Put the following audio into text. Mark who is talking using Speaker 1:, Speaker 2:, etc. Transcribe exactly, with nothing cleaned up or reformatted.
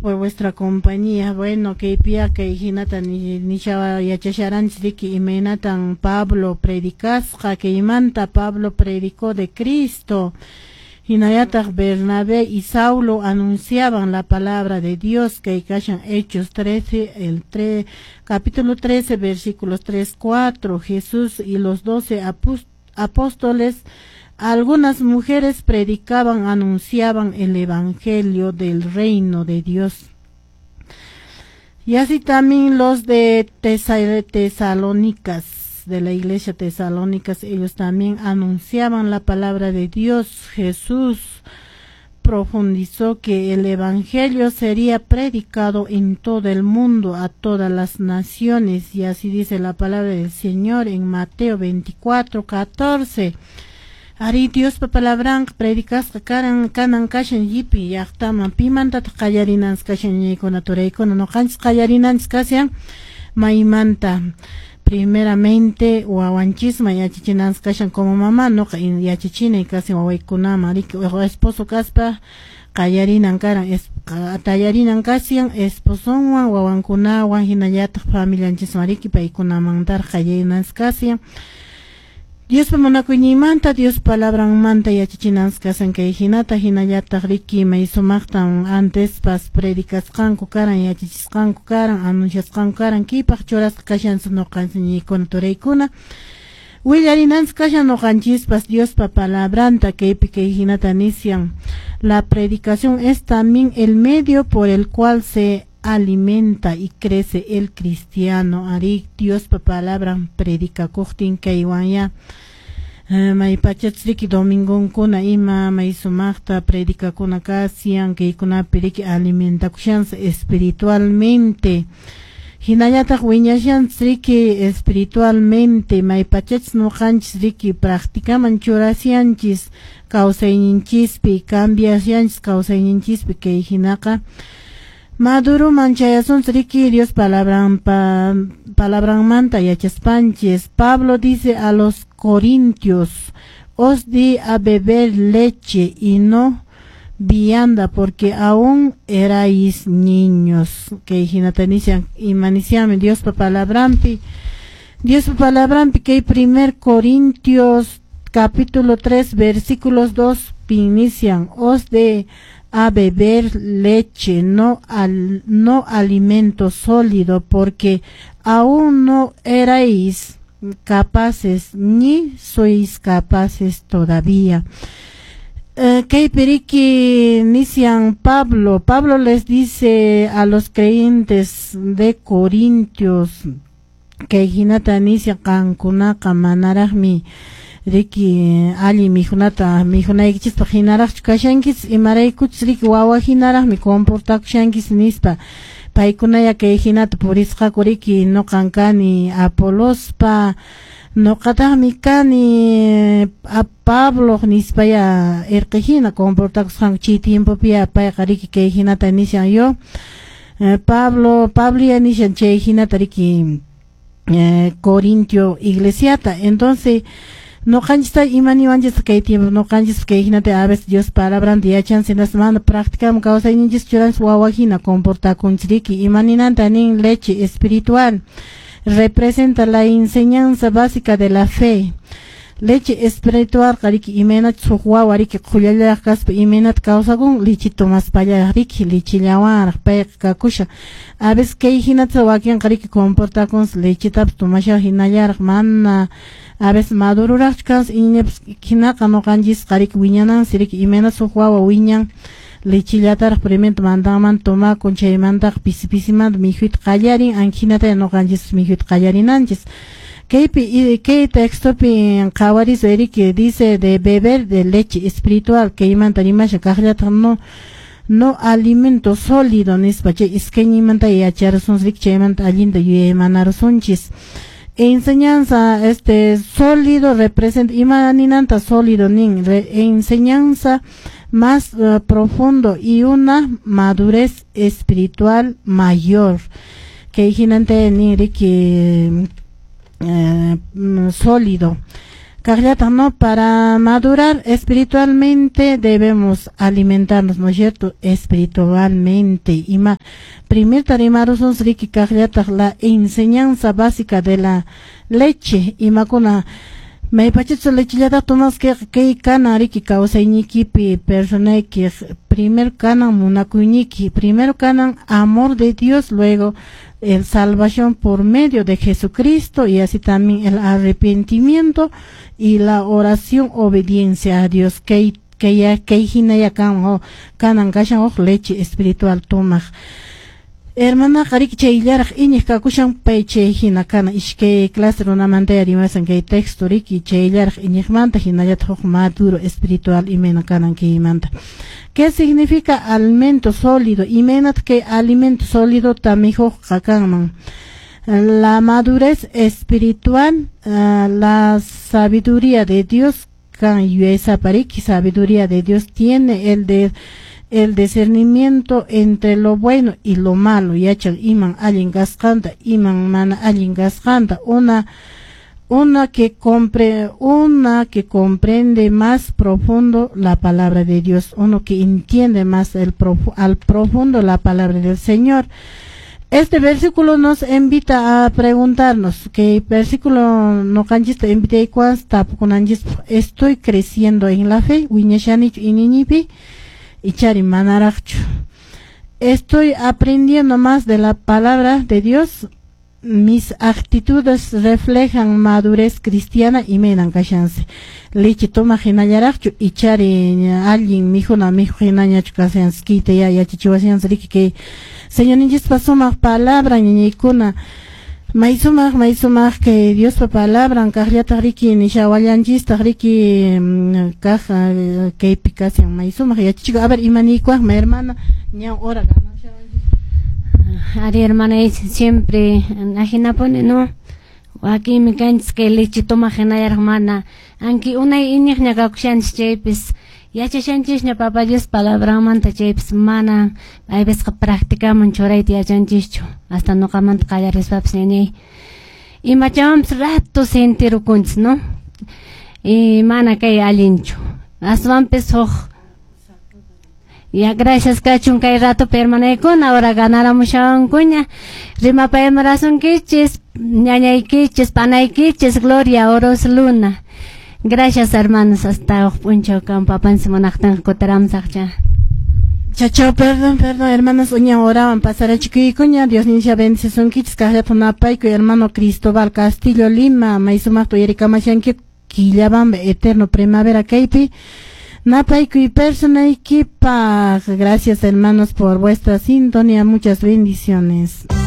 Speaker 1: Por vuestra compañía. Bueno, kaypiqa kay hinata nishawa yachasharanchis riki, imaynatan Pablo predicasqa. Kaymanta Pablo predicó de Cristo. Hinallataq Bernabé y Saulo anunciaban la palabra de Dios, kay kashan Hechos trece, el tres, capítulo trece, versículos tres, cuatro. Jesús y los doce apóstoles, algunas mujeres predicaban, anunciaban el evangelio del reino de Dios. Y así también los de Tesalónicas, de la iglesia Tesalónicas, ellos también anunciaban la palabra de Dios. Jesús profundizó que el evangelio sería predicado en todo el mundo, a todas las naciones, y así dice la palabra del Señor en Mateo veinticuatro, catorce. Arí, Diospa palabranqa predicasqa karan kanan kashan llipi llaqtaman. Pimantataq qallarinanchis kashan, ñaykuna, turaykuna? Ñuqanchis qallarinanchis kashan maymanta? Primeramente wawanchisman yachachinanchis kashan. Como mamá nuqa yachachinay kashan wawaykunaman, riki. Esposo kaspa qallarinan karan, tallarinan kashan esposonwan, wawankunawan, hinallataq familianchisman, riki, paykunamantaraq qallarinanchis kashan. Diospa munakuyninmanta, Dios palabranmanta yachachinanchis kashan kay hinata, hinallataq riki may sumaqtan antespas predicasqanku karan, yachachisqanku karan, anunciasqanku karan. Kipaq churasqa kashanchis ñuqanchis, ñiykuna, turaykuna. Willarinanchis kashan ñuqanchispas Diospa palabranta. Kaypi kay hinata nisyan: la predicación es también el medio por el cual se alimenta y crece el cristiano. Arí, Diospa palabran predicakuqtin kaywan maypachachus riki domingonkuna ima may sumaqta predicakuna kashan, kaykunapi riki alimentakushansi espiritualmente, hinallataq wiñashanchis riki espiritualmente. Maypachachus ñuqanchis riki practicaman churashanchis kawsayninchispi, cambiashanchis kawsayninchispi, kay hinaqa maduruman chayasunchis riki Dios palabranpa palabranmanta yachaspanchis. Pablo dice a los corintios: "Os di a beber leche y no vianda, porque aún erais niños". Kay hinata nishan. Ima nishanmi Diospa palabranpi? Diospa palabranpi kay primer Corintios capítulo tres versículos dos inician: "Os di a beber leche, no al, no alimento sólido, porque aún no erais capaces, ni sois capaces todavía". Eh, kaypi riki nishan Pablo, Pablo les dice a los creyentes de Corintios, kay hinata nishan: qankunaqa manaraqmi riki allin mikhunata mikhunaykichispaq hinaraqchu kashankichis, imaraykuchus riki wawa hinaraqmi comportakushankichis nispa. Paykunaya kay hinata purisqaku riki: "Nuqan kani Apolospa, nuqataqmi kani Pablo" nispaya irqi hina comportakusqanku chay tiempopiya. Payqa riki kay hinata nishan yo Pablo, Pablo ya nishan chay hinata riki Corintio iglesiata. Entonces ñuqanchista ima niwanchis kay tiempo? Ñuqanchis kay hinata a veces Dios palabranta yachanchis, hinaspa mana practicaman kawsayninchis churanchis, wawa hina comportakunchis riki. Ima ninanta nin leche espiritual? Representa la enseñanza básica de la fe. Leche espiritual riki imaynachus huk wawa riki qhullallaraq kaspa imaynata kawsakun lichita tomaspallaraq riki, lichillawanraq payqa kakushan. A veces kay hinata wakinqa riki comportakunsi, lechitapas tomashan hinallaraq, mana a veces madururaqchu kansi iñipas hinaqa. Ñuqanchisqa riki wiñanansi riki imaynachus huk wawa wiñan, lichillataraq primero mandanmanta tomakun, chaymantaqa pisi pisimanta mikhuyta qallarin, anhinata ñuqanchispas mikhuyta qallarinanchis. Kaypi kay textopi qhawarisun riki, dice de beber de leche espiritual, kaymanta rimashan, kaqllataq no no alimento sólido nispa. Chay iskayninmanta yacharasunchis riki, chaymanta allinta yuyaymanarusunchis. Enseñanza este sólido representa, ima ninanta sólido nin? Re, enseñanza más uh, profundo y una madurez espiritual mayor. Kay hinanta nin riki eh, sólido. Kaqllataq, ¿no? Para madurar espiritualmente debemos alimentarnos, ¿no es cierto? Espiritualmente. Ima primer rimarusun riki kaqllataq la enseñanza básica de la leche, imakuna maypachachus lechellata tomasqa kay kanan riki kawsaynikipi personayki primero kanan munakuyniki, primero kanan amor de Dios, luego el salvación por medio de Jesucristo y así también el arrepentimiento y la oración obediencia a Dios kay kay kay hinaya kan ho kanan kashan huk leche espiritual tomaq hermana riki chayllaraq iñiq kakushan pay chay hina kana iskay clase runamanta rimasan kay texto riki chayllaraq iñiqmanta hinallataq huk maduro espiritual imayna kanan kaymanta. ¿Qué significa alimento sólido? Imaynataq kay alimento sólido mikhuqqa kanman? La madurez espiritual, uh, la sabiduría de Dios kan yuyaysapa riki sabiduría de Dios tiene el de el discernimiento entre lo bueno y lo malo, yachan iman allin kasqanta, iman mana allin kasqanta, una una que compre, una que comprende más profundo la palabra de Dios, uno que entiende más el profu al profundo la palabra del Señor. Este versículo nos invita a preguntarnos, que versículo ñuqanchista invitaykuwan tapukunanchis, estoy creciendo en la fe, wiñashanichu iñiypi, ichari manaraqchu. Estoy aprendiendo más de la palabra de Dios, mis actitudes reflejan madurez cristiana imaynan kashansi. Leche tomaq hinallaraqchu ichari allin mikhuna mikhuq hinañachu kashansi kayta ya yachachiwashansi riki kay Señorninchispa sumaq palabra ñañaykuna may sumaq may sumaq kay Diospa palabran kaqllataq riki nishawallanchistaq riki kaq kaypi kashan may sumaq yachachikuy. A ver, imaniykuwaqmi hermana, ña hora
Speaker 2: Ari hermana, siempre ajinapuni, no? Wakinmi kanchis kay leche tomaq hinallaraq mana anki unay iñiqña kakushanchis chaypis yachashanchisña Papa Dios palabranmanta chaypis mana aypisqa practicaman churayta yachanchischu hasta ñuqamanta qallarispapis ñañay imachawanpis rato sentirukunchis, no? Y mana kay allinchu aswanpis huk Ya gracias kachun kay rato hermanaykuna ahora ganaramushawankuña rimapayamarasunkichis ñañaykichis panaykichis Gloria Oros Luna. Gracias hermanos, hasta huk p'unchaw kan papanchis munaqtinqa kutiramusaqcha.
Speaker 1: Chao, perdón, perdón, hermanos, uña oraban pasarachikuykuña, Dios nincha bendicisunkichis kaqllata napaykuy hermano Cristóbal Castillo Lima, may sumaqta uyarikamashanki Quillabamba eterno primavera kaypi. Napaykuy personaykipaq. Gracias hermanos por vuestra sintonía, muchas bendiciones.